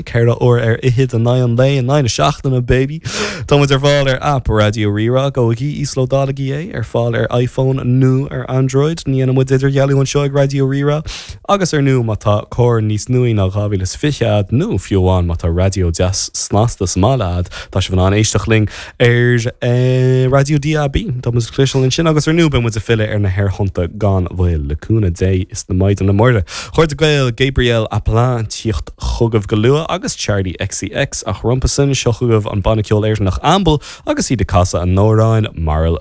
4 uair ar fhichid in aghaidh an lae, in aghaidh na seachtaine, baby! Tá muid ar fáil ar aip Raidió Rí-Rá, gabhaigí, íoslódálaigí é, ar fáil ar iPhone nó ar Android. Ní dhéanann muid idirdhealú anseo ag Raidió Rí-Rá. Agus ar ndú, má tá carr níos nuaí ná 2020 a'd, nó fiú amháin má tá raidió deas snasta sa mbaile a'd, tá sibh in ann éisteacht linn ar Raidió DAB. Tá muid le cloisteáil ansin agus ar ndú beidh muid ag filleadh ar na haerthonnta gan mhoill, le cúnamh Dé is na Maighdine Muire. Chairde Gael, Gabriel Appelant tíocht chugaibh go luath agus Charli XCX ach rompu sin, seo chugaibh an banna ceoil Éireannach Amble agus iad ag casadh a n-amhráin Marl.